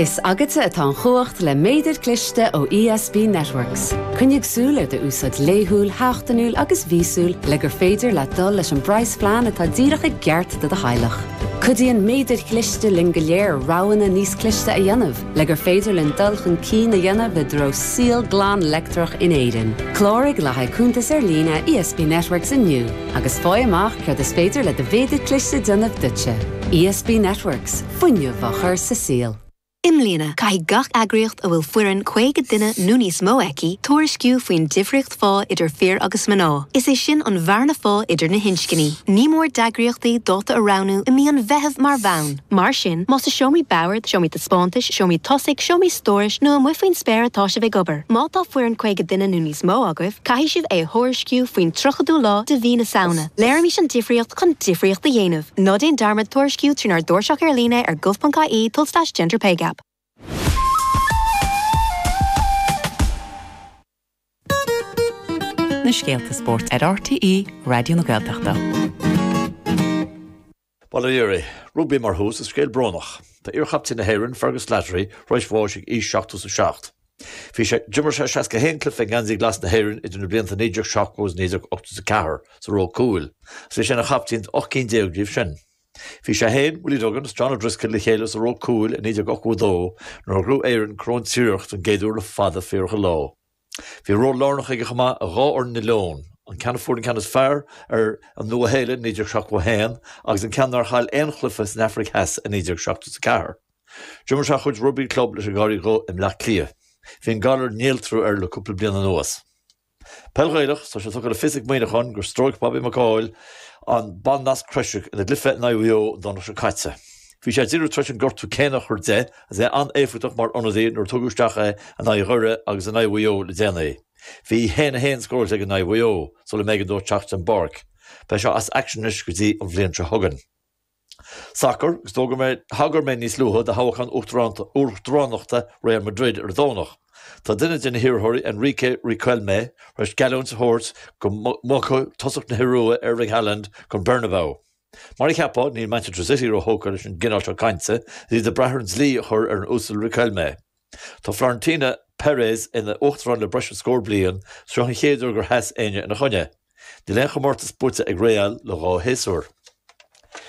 Is agatsa atá an chumhacht le méadar cliste ó ESB Networks. Coinnigh súil ar d'úsáid laethúil, sheachtainiúil agus mhíosúil le gur féidir leat dul leis an bpraghasphlean atá díreach i gceart do do theaghlach. Cuidíonn méadair chliste linn go léir roghanna níos cliste a dhéanamh le gur féidir linn dul chun cinn a dhéanamh i dtreo saol glan leictreach in Éirinn. Cláraigh le haghaidh cuntas ar líne ESB Networks inniu agus faigh amach céard is féidir le do mhéadar cliste déanamh duitse. ESB Networks. Fuinneamh á chur sa saol. I mbliana, caithfidh gach eagraíocht a bhfuil foireann 50 duine nó níos mó aici tuairisciú faoin difríocht phá idir fir agus mná, is é sin an bhearna phá idir na hinscní. Ní mór d'eagraíochtaí dáta a roghnú i mí an Mheithimh mar bhonn. Mar sin, más i seomraí boird, seomraí taispeántais, seomraí tosaigh, seomraí stórais nó amuigh faoin spéir atá sibh ag obair, má tá foireann 50 duine nó níos mó agaibh, caithfidh sibh é a thuairisciú faoin 30ú lá de mhí na Samhna. Léirímis an difríocht chun difríocht a dhéanamh. Ná déan dearmad tuairisciú trínár dtairseach ar líne ar gov.ie tulslais genderpaygap. Na scéalta spóirt ar RTÉ Raidió na Gaeltachta. Bail ó Dhia oraibh. Rugbaí mar thús, is scéal brónach. Tá iar-chaptaen na hÉireann, Fergus Slattery, tar éis bháis ag aois 77. Bhí sé, d'imir sé 61 cluiche i ngeansaí glas na hÉireann idir na blianta 1970 agus 1984 sa ról cúil, agus bhí sé ina chaptaen d'18 cinn díobh sin. Bhí sé féin, Willie Duggan agus John O'Driscoll le chéile sa ró cúil i 1982 nuair a ghnóthaigh Éirinn Corn Triarach don gcéad uair le fada fíorach an lá. Bhí ról lárnach aige chomh maith i dhá fhoireann na Leon, an ceann a fuair an ceann is fearr ar an Nua-Shéalainn i 1971 agus an ceann nár chaill aon chluiche san Afraic Theas i 1974. D'imir sé a chuid rugbaí club leis an gCarraig Dhubh i mBleá Cliath. Bhí an galar néaltrú air le cúpla bliain anuas. Peil Ghaelach, Tá sé tugtha le fios ag Muineachán gur stróic Bobby McCaul an bann-nasc croise ina gcluiche in aghaidh Mhaigh Eo an Domhnach seo caite. Bhí sé díreach tar éis an gortú céanna a chur de agus é an-éifeachtach mar ionadaí nuair a tugadh isteach é in aghaidh Dhoire agus in aghaidh Mhaigh Eo le déanaí. Bhí 1-1 scóráilte aige in aghaidh Mhaigh Eo sula mb'éigean dó teacht den bpáirc. Beidh sé as aicsean anois go dtí an bhliain seo chugainn. Sacar, agus d'fhógair mé, thagair mé níos luaithe do thoghchán uachtaránachta Real Madrid ar an Domhnach. Tá duine de na hiarrthóirí, Enrique Riquelme, tar éis geallúint a thabhairt go mbogfaidh tosach na hIorua, Erling Haaland, chun Bernabeu. Mar a cheapfá, níl Manchester City róthógtha leis an gcineál seo cainte, is iad ag brath ar an dlí a chur ar an Uasal Riquelme. Tá Florentino Perez ina uachtarán le breis is scór bliain, seo an chéad uair gur sheas éinne ina choinne. Níl aon chomórtas buaite ag Real le dhá shéasúr.